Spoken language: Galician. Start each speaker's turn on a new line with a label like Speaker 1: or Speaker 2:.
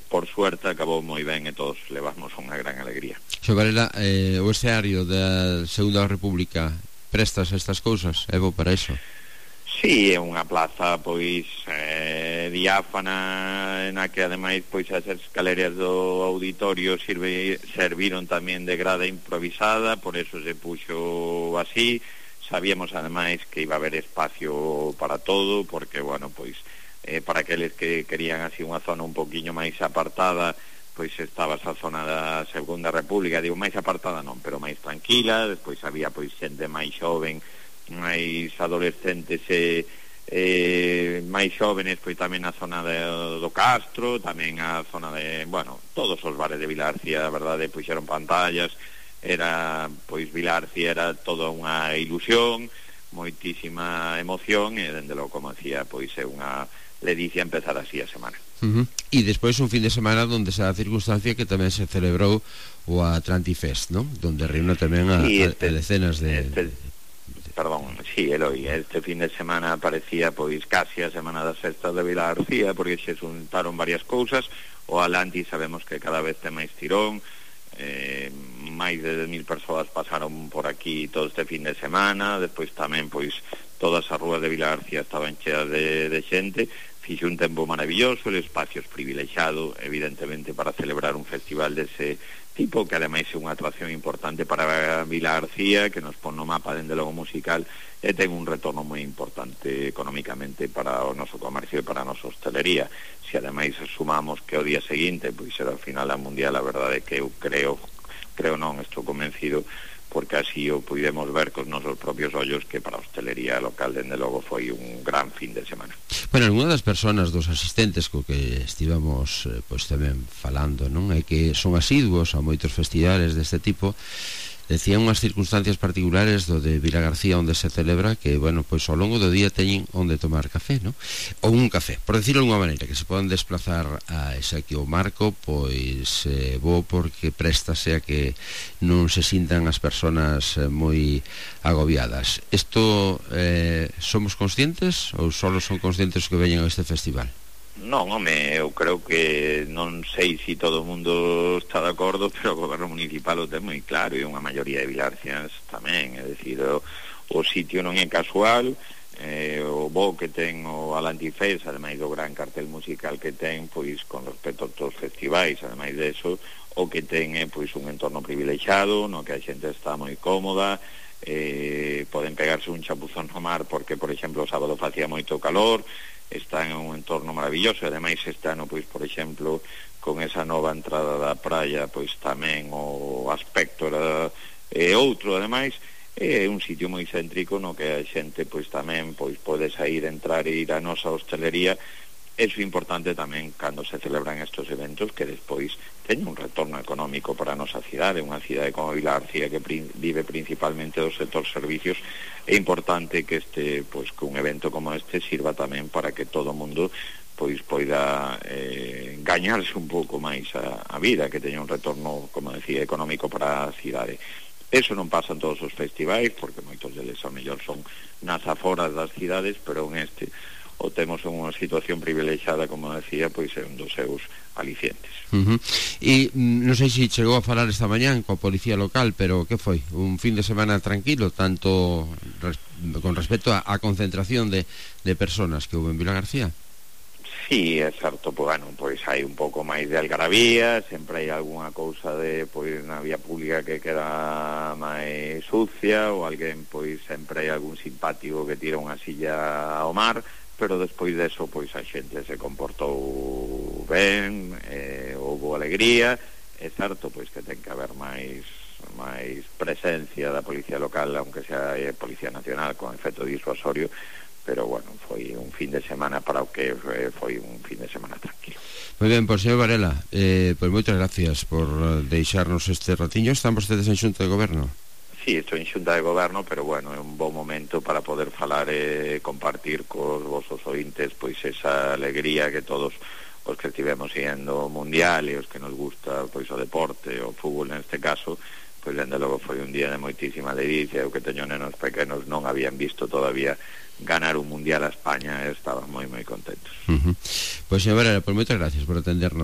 Speaker 1: por suerte acabou moi ben e todos levamos unha gran alegría.
Speaker 2: Xo Varela, o escenario da Segunda República prestas estas cousas? É bo para iso?
Speaker 1: Sí, é unha plaza pois diáfana, na que ademais pois as escaleras do auditorio serviron tamén de grada improvisada, por eso se puxo así. Sabíamos ademais que iba a haber espacio para todo, porque, bueno, pois para aqueles que querían así unha zona un poquinho máis apartada, pois estaba esa zona da Segunda República, digo máis apartada non, pero máis tranquila. Despois había pois xente máis xoven, máis adolescentes máis xóvenes, pois tamén a zona do Castro, tamén a zona de, bueno, todos os bares de Vilarcía, a verdade, puxeron pantallas. Era, pois, Vilarcía era toda unha ilusión, moitísima emoción, e dende logo, como decía, pois é unha ledicia empezar así a semana.
Speaker 2: E despois un fin de semana donde se dá a circunstancia que tamén se celebrou o Atlantifest, non? Donde reúne tamén a decenas de...
Speaker 1: Perdón, sí, Eloi, este fin de semana parecía pois casi a semana das festas de Vilarcía, porque se xuntaron varias cousas. O Atlantis sabemos que cada vez ten máis tirón, máis de 10.000 persoas pasaron por aquí todo este fin de semana. Despois tamén pois todas as rúas de Vilarcía estaban cheas de xente. Fixo un tempo maravilloso, el espacio es privilexiado evidentemente para celebrar un festival dese tipo, que ademais é unha atracción importante para Vilarcía, que nos pon no mapa dende logo musical, e ten un retorno moi importante económicamente para o noso comercio e para a nosa hostelería. Se ademais sumamos que o día seguinte pois era o final da Mundial, a verdade é que eu creo non, estou convencido, porque así o pudemos ver cos nosos propios ollos, que para a hostelería local dende logo foi un gran fin de semana.
Speaker 2: Bueno, algunha das persoas dos asistentes co que estivamos pois tamén falando, non, é que son asiduos a moitos festivales deste tipo. Decían unhas circunstancias particulares do de Vilagarcía onde se celebra, que, bueno, pois ao longo do día teñen onde tomar café, non? Ou un café, por decirlo de alguma maneira, que se poden desplazar a ese aquí o marco, pois bo, porque préstase a que non se sintan as persoas moi agobiadas. Isto somos conscientes ou só son conscientes que veñen a este festival?
Speaker 1: Non, home, eu creo que non sei se todo o mundo está de acordo, pero o goberno municipal o ten moi claro, e unha maioría de vilarcians tamén. É dicir, o sitio non é casual, o bo que ten o Atlantifest, ademais do gran cartel musical que ten, pois con respecto a todos os festivais, ademais de eso, o que ten é pois un entorno privilexiado, no que a xente está moi cómoda, poden pegarse un chapuzón no mar porque, por exemplo, o sábado facía moito calor, está en un entorno maravilloso. E ademais este ano, pois, por exemplo, con esa nova entrada da praia, pois tamén o aspecto era outro. Ademais é un sitio moi céntrico no que a xente pois tamén pois pode sair, entrar e ir á nosa hostelería. Eso é importante tamén cando se celebran estos eventos, que despois teñen un retorno económico para a nosa cidade, unha cidade como Vilarcía que vive principalmente do sector servicios. É importante que pois que un evento como este sirva tamén para que todo o mundo pois poida gañarse un pouco máis a vida, que teña un retorno, como decía, económico para a cidade. Eso non pasa en todos os festivais, porque moitos deles ao mellor son nas aforas das cidades, pero en este o temos en unha situación privilexiada, como decía, pois é un dos seus alicientes.
Speaker 2: E non sei se chegou a falar esta mañán coa policía local, pero que foi? Un fin de semana tranquilo, tanto con respecto á concentración de personas que houve en Vilagarcía?
Speaker 1: Sí, é certo, pois hai un pouco máis de algarabía, sempre hai algunha cousa de, pois, na vía pública que queda máis sucia, ou alguén, pois, sempre hai algún simpático que tira unha silla ao mar, pero despois deso, pois, a xente se comportou ben, houve alegría. É certo, pois, que ten que haber máis presencia da policía local, aunque sea Policía Nacional, con efecto disuasorio, pero, bueno, foi un fin de semana para o que foi un fin de semana tranquilo.
Speaker 2: Moi ben, pois, señor Varela, pois moitas gracias por deixarnos este ratiño. Están vostedes en Xunta de Goberno?
Speaker 1: Sí, estou en Xunta de Goberno, pero, bueno, é un bon momento para poder falar e compartir cos vosos ointes pois esa alegría que todos os que estivemos siguiendo o Mundial e os que nos gusta pois o deporte, o fútbol neste caso, pois dende logo foi un día de moitísima ledicia. Eu que teño nenos pequenos non habían visto todavía ganar un Mundial a España e estaban moi contentos.
Speaker 2: Pois, señor Varela, pois moitas gracias por atendernos.